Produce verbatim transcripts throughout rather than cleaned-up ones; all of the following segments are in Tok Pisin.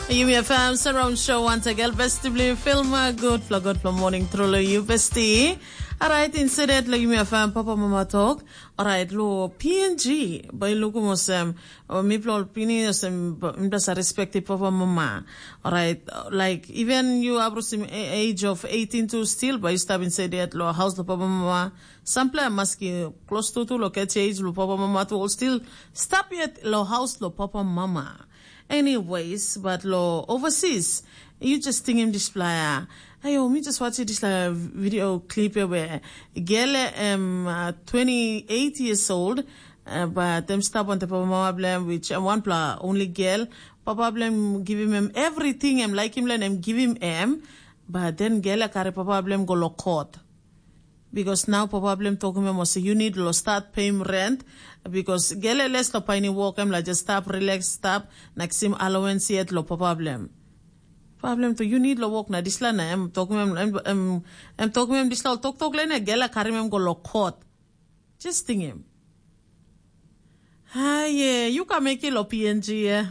Yumi FM Surround Show once again, besti bli filma, good fla, good fla morning through lo you besti. Alright, instead lo Yumi FM Papa Mama Talk. Alright, lo P N G, bai luku mosem, mi pla ol pini osem, mi pla sa respect Papa Mama. Alright, like, even you abrusim age of eighteen to still, bai you stap inside lo house lo Papa Mama. Sampla maski close to, to lo catch age lo Papa Mama to all still stap yet lo house lo Papa Mama. Anyways, but lo overseas, you just think him dispela. Ayo, mi just watch this uh, video clip where gele um uh, twenty-eight years old, uh, but them stop on the papa mama blem, which uh, one pla only girl. Papa blem give him, him everything, him like him, let him give him him. But then gele carry papa blem go lo court. Because now papa blem tokim em olsem you need lo start pay him rent, because gele les lo paini work em la just stop, relax, stop, na kisim allowance yet lo papa blem. Papa blem to you need lo work na disla na em tokim em em em, em tokim em disla ol toktok lene gele karim em go lo court. Just think him. Hi, yeah, you can make it lo P N G, yeah.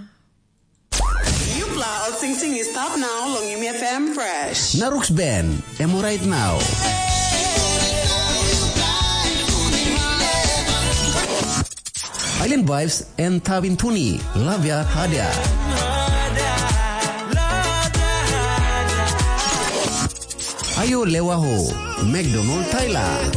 Yupla ol singsing i stap nau long Yumi F M Fresh. Naruk Ben, em orait nau. Island Vibes en Tavin Tuni, Lavia Hadia. Ayo Lewaho, McDonald Tyler.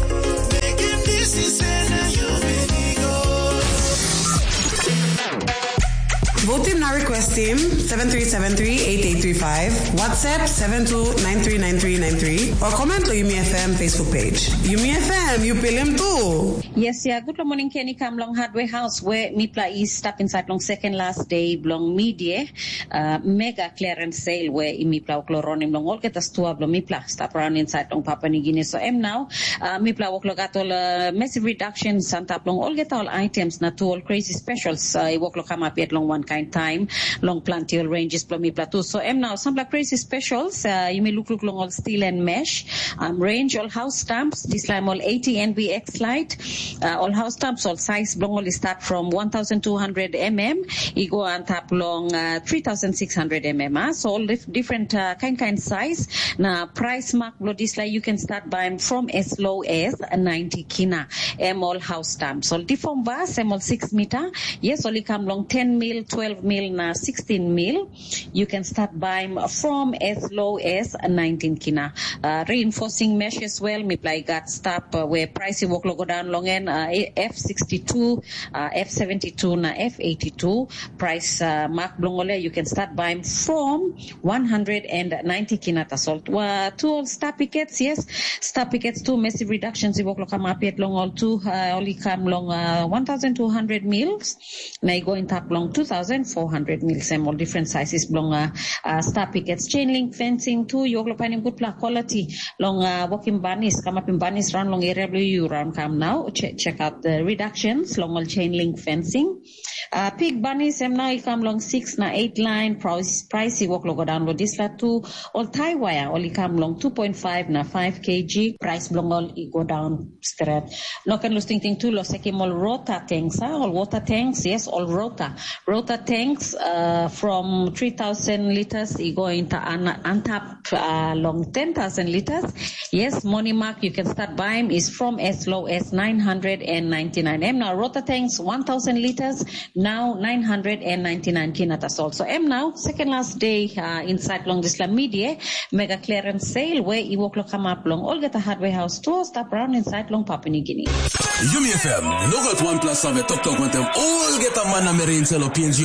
Vote him na request him seven three seven three eight eight three five, WhatsApp seven two nine three nine three nine three, or comment lo Yumi F M Facebook page. Yumi F M, you pil him too. Yes, yeah. Good morning, Kenny. Come long hardware house where mipla is step inside long second last day blong media. Uh, mega clearance sale where mipla oklo ronim long olgeta stua blong mipla stap around inside long Papua New Guinea. So em now, uh, mipla oklo got all uh, massive reductions antap long olgeta all items na tu all crazy specials. Uh, i woklo come up yet long one kind time long planti all ranges blong mipla tu. So em now sampla crazy specials. Uh, you may look look long all steel and mesh. Um, range all house stamps. This time all eighty N B X light. Uh, all house stamps all size blong all start from one thousand two hundred M M. I go antap long uh, three thousand six hundred M M. Uh. So all dif- different uh, kind kind size. Na price mark blo disla you can start buying from as low as ninety kina. Em all house stamps. All different bars, em all six meter. Yes, only come long ten mil, twelve mil, na sixteen mil. You can start buying from as low as nineteen kina. Uh, reinforcing mesh as well. Mipla i gat stap uh, where price i wok lo go down long en uh, F sixty-two, uh, F seventy-two na F eighty-two. Price uh, mark blong ole you can start buying from one hundred ninety kina tasol. Uh, two all star pickets, yes. Star pickets two massive reductions i wok lo come up yet long all two. Uh, only come long uh, one thousand two hundred meals. Na i go intap long two thousand four hundred mil sem ol different sizes bilong uh, uh, star pickets, chain link fencing tu, i oklo painim gutpela quality long uh, working bunnies, kamapim bunnies raun long area bilong yu raun kam nau, check, check out the reductions long ol chain link fencing. Uh, pig bunnies em nau i kam long six na eight line, price, price i wok lo go down lo disla tu, ol tie wire ol i kam long two point five na five kg, price bilong ol i go down stret. No ken lus tingting tu lo sekim ol rota tanks, ha? Ol water tanks, yes, ol rota. Rota tanks uh, from three thousand liters i go inta an, antap uh, long ten thousand liters. Yes, money mark you can start buying is from as low as nine hundred ninety-nine. Em now rota tanks one thousand liters, now nine hundred ninety-nine kina tasol. So em now second last day uh, inside long disla media mega clearance sale where i wok lo kamap long olgeta hardware house tu stap raun inside long Papua New Guinea. Yumi F M, no gat wanpela save toktok wantem olgeta man na meri inside lo P N G.